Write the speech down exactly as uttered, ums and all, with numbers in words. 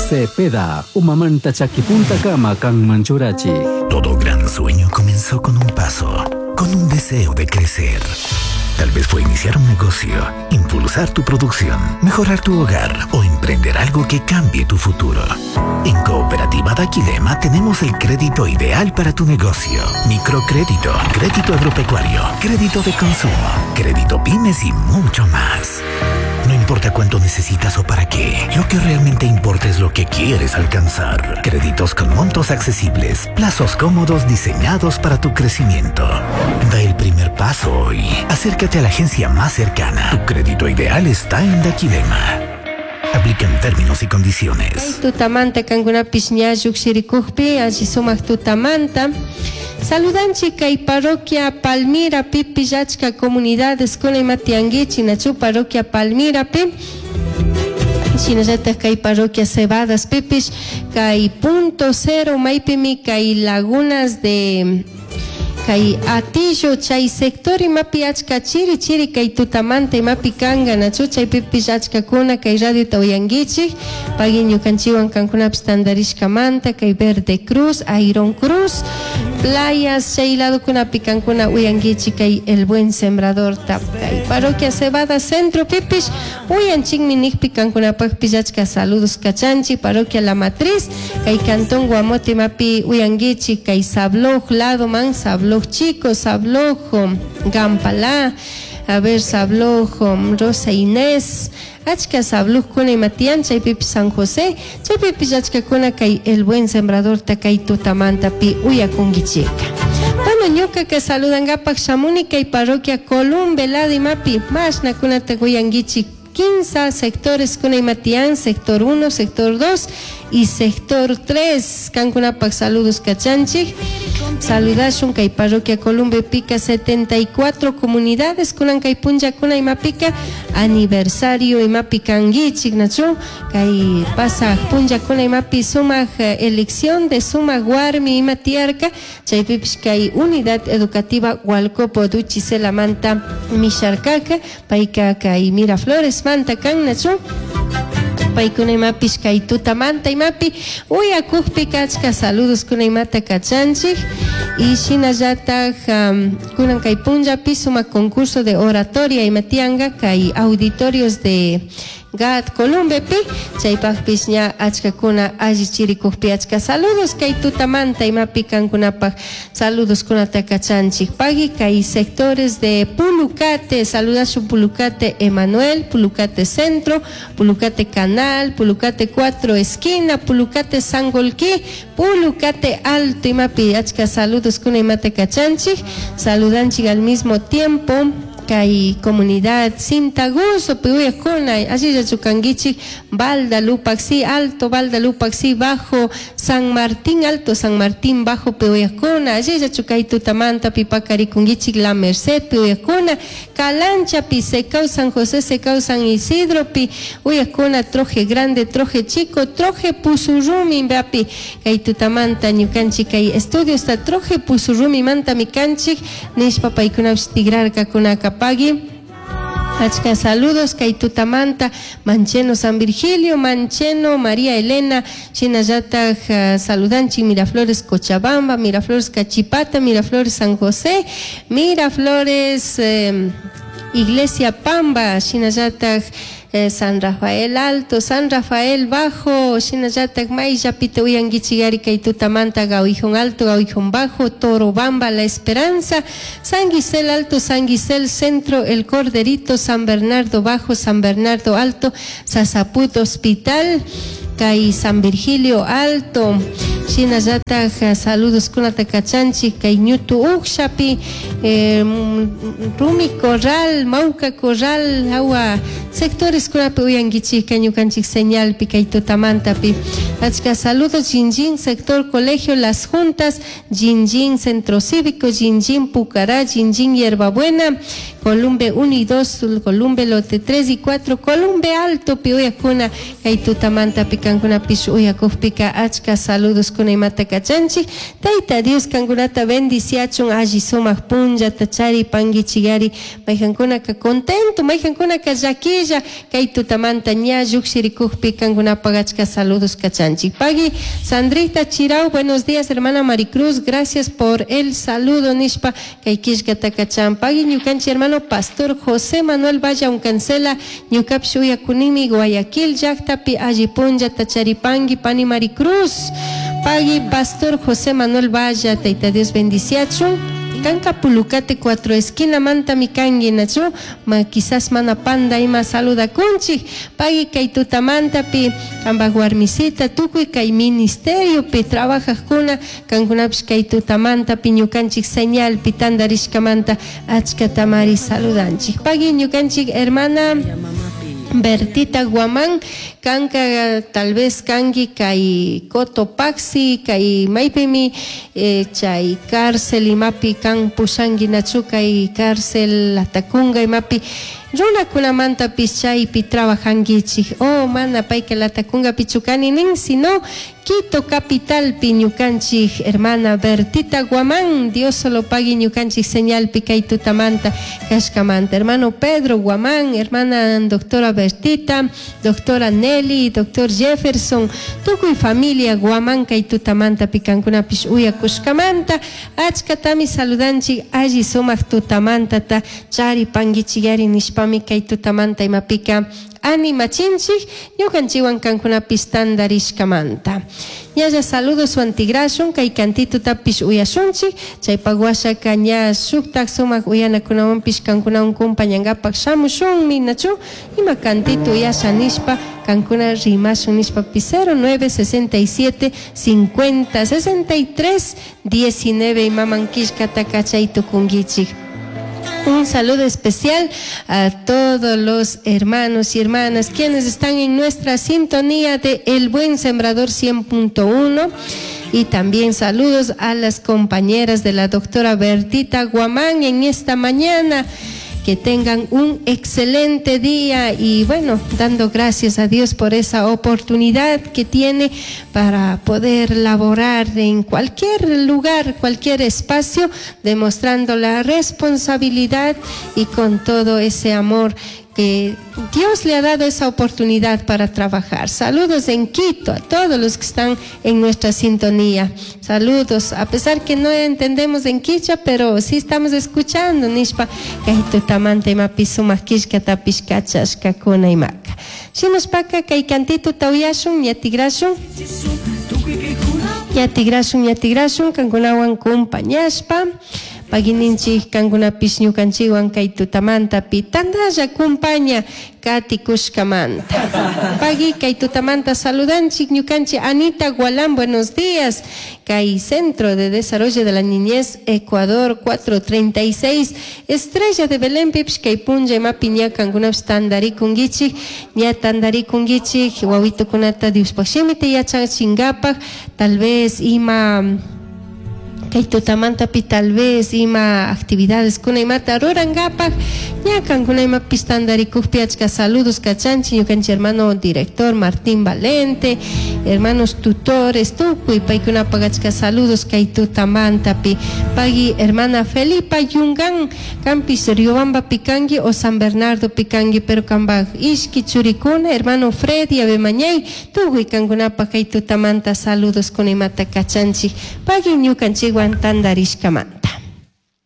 Cepeda, Umamanta Chaquipunta Kama Kanman Churachi. Todo gran sueño comenzó con un paso, con un deseo de crecer. Tal vez fue iniciar un negocio, impulsar tu producción, mejorar tu hogar o emprender algo que cambie tu futuro. En Cooperativa Daquilema tenemos el crédito ideal para tu negocio. Microcrédito, crédito agropecuario, crédito de consumo, crédito pymes y mucho más. No importa cuánto necesitas o para qué, lo que realmente importa es lo que quieres alcanzar. Créditos con montos accesibles, plazos cómodos diseñados para tu crecimiento. Da el primer paso hoy. Acércate a la agencia más cercana. Tu crédito ideal está en Daquilema. Aplican términos y condiciones. Tutamanta kankunapish ña llukshirikukpi alli sumak tutamanta. Saludanchik kay parroquia Palmira pipish achka comunidades kuna ima tiyankichik nachu parroquia Palmirapi. Shinallatak kay parroquia Cebadas pipish kay punto cero maypimi kay lagunas de kay Atillo chay sector imapi achka chiri chiri kay tutamanta imapi kanka nachu chaypipish achkakuna kay radiota uyankichik pagui ñukanchikwan kankunapish tantarishkamanta kay Verde Cruz, Iron Cruz, playas chay ladokunapi kankuna uyankichik kay El Buen Sembrador ta kay parroquia Cebada Centro pipish uyanchikmi nikpi kankunapakpish achka saludos kachanchik parroquia La Matriz kay cantón Guamote imapi uyankichik kay Sabloj lado man Sabloj Chico, Sabloj Gampalá, a ver Sabloj Rosa Inés, achka Sablojkuna ima tiyan chaypipish San José chaypipish achkakuna kay El Buen Sembrador ta kay tutamantapi uyakunkichika. Bueno, ñukaka saludankapak shamuni kay parroquia Columbe lado imapi mashnakunata uyankichik quince sectores kuna ima tiyan, sector uno, sector dos y sector tres. Kankunapak saludos kachanchik. Saludashun kay parroquia Columbe pica setenta y cuatro comunidades kunan kay punllakuna imapika aniversario imapi kankichik nachu kay pasaj punllakuna imapi sumak elección de sumak warmi ima tiyarka chaypipish kay unidad educativa Hualcopo Duchicelamanta misharkaka payka kay Miraflores manta kan nachu paykuna imapish kay tutamanta imapi uyakukpika achka saludos kuna imata kachanchik y shinallatak um, kunan kay punllapi sumak concurso de oratoria ima tiyanka kay auditorios de Gat Columbepi chaypakpish ña achkakuna allichirikukpi achka saludos kay tutamanta imapi kankunapak saludos kunata kachanchik pagui kay sectores de Pulucate saludashun Pulucate Emanuel, Pulucate Centro, Pulucate Canal, Pulucate Cuatro Esquina, Pulucate Sangolquí, Pulucate Alto imapi achka saludos kuna imata kachanchik saludanchik al mismo tiempo kay comunidad Cintaguso piuyakuna allilla chukankichik Balda Lupaxi Alto, Balda Lupaxi Bajo, San Martín Alto, San Martín Bajo piuyakuna allilla chukay tutamanta pipakarikunkichik La Merced piuyakuna Calancha pi Secau San José Secau San Isidro pi uyakuna Troje Grande, Troje Chico, Troje Pusurrumi mbapi kay tutamanta ñukanchik kay estudios ta Troje Pusurrumi manta mikanchik nishpa paykunapish tigrarkakunaka pagui. Achka saludos kay tutamanta Mancheno San Virgilio, Mancheno María Elena, shinallatak uh, saludanchik Miraflores Cochabamba, Miraflores Cachipata, Miraflores San José, Miraflores eh, Iglesia Pamba, shinallatak eh, San Rafael Alto, San Rafael Bajo, shinallatak mayllapita uyankichigari kay tutamanta Gauijón Alto, Gauijón Bajo, Torobamba, La Esperanza, San Gisel Alto, San Gisel Centro, El Corderito, San Bernardo Bajo, San Bernardo Alto, Sasaput Hospital, kay San Virgilio Alto, shinallatak saludos kunata kachanchik kay Ñutu Ukshapi, eh, Rumi Corral, Mauca Corral, hawa sectores kunapi uyankichik ñukanchik señalpi kay tutamantapi. Achka saludos Jinjin, sector Colegio Las Juntas, Jinjin Centro Cívico, Jinjin Pucará, Jinjin Hierbabuena, Columbe uno y dos, Columbe Lote tres y cuatro, Columbe Alto, pi uyakuna kay tutamantapi kankunapish uyakukpika achka saludos Saludos kuna imata kachanchik. Tayta Dios kankunata bendiciachun alli sumak punllata charipanguichigari. Maykankunaka contento, maykankunaka llaquilla kay tutamanta ña llukshirikukpi kankunapak achka saludos kachanchik. Pagui Sandrita Chirau, buenos días hermana Maricruz, gracias por el saludo nishpa kay killkata kachan. Pagui ñukanchik hermano pastor José Manuel Valla Uncancela, ñukapish uyakunimi Guayaquil llaktapi alli punllata charipangui pani Maricruz. Pagui pastor José Manuel Valla, Tayta Dios bendiciachun. Kanka Pulucate cuatro esquina manta mi kangi nachu, ma quizás mana panda ima saludakunchik. Pagui kay tutamantapi kambaj warmisita tukuy kay ministerio pi trabajajkuna kankunapish kay tutamantapi ñukanchik señalpi tandarishkamanta achkatamari saludanchik. Pagui ñukanchik hermana Bertita Guamán, kanka tal vez kangi kay Cotopaxi, kay maypimi eh, chay cárcel imapi kan pushangi nachu kay cárcel Latacunga imapi runakunamantapis chaypi trabajanguichik. Oh, mana payka Latacunga pichukani nin, sino Quito capitalpi ñukanchik hermana Bertita Guamán, Dios solo pagui ñukanchik señalpi kay tutamanta kashkamanta. Hermano Pedro Guamán, hermana doctora Bertita, doctora Nelly, doctor Jefferson, tukuy familia Guamán kay tutamanta pikankunapish uyakushkamanta, achkatami saludanchik alli sumak tutamantata charipanguichigari nishpami kay tutamanta imapika animachinchik ñukanchikwan kankunapis tandarishkamanta. Ñalla saludos wantigrashun kay kantitutapish uyashunchik chaypak washaka ña shuktak sumak uyanakunawanpish kankunawan kumpañankapak shamushunmi nachu ima kantito uyasha nishpa kankuna rimashun nishpa cero nueve sesenta y siete cincuenta sesenta y tres diecinueve imaman killkata kachay tukunkichik. Un saludo especial a todos los hermanos y hermanas quienes están en nuestra sintonía de El Buen Sembrador cien punto uno. Y también saludos a las compañeras de la doctora Bertita Guamán en esta mañana. Que tengan un excelente día y bueno, dando gracias a Dios por esa oportunidad que tiene para poder laborar en cualquier lugar, cualquier espacio, demostrando la responsabilidad y con todo ese amor que Dios le ha dado esa oportunidad para trabajar. Saludos en Quito a todos los que están en nuestra sintonía. Saludos, a pesar que no entendemos en quichua, pero sí estamos escuchando. Nishpa, kay tutamanta imapi sumak killkatapish kachashkakuna imaka. Shinaspaka kay kantito tawiyashun, ñatigrashun. Ñatigrashun, ñatigrashun, kankunawan kumpañashpa. Pagininchik kankunapish ñukanchikwan kay tutamantapi tandalla kumpaña katikushkamanta. Pagui kay tutamanta saludanchik ñukanchik Anita Gualán, buenos días. Kay Centro de Desarrollo de la Niñez Ecuador cuatro treinta y seis, Estrella de Belén pipish kay punlla imapi ña kankunapish tandarikunkichik, ña tandarikunkichik wawitukunata Diospaj shimita yachachinkapak, tal vez ima kay tutamantapi tal vez ima actividades kuna imata rurankapak ña kankuna imapis tandarikukpi achka saludos kachanchik ñukanchik hermano director Martín Valente, hermanos tutores tukuy paykunapak achka saludos kay tutamantapi. Pagui hermana Felipa Yungan kampis Riobamba pikangi o San Bernardo pikangi pero kambaj ishki churikuna hermano Freddy Abemañay tukuy kankunapak kay tutamanta saludos kuna imata kachanchik. Pagui ñukanchik tandarishkamanta.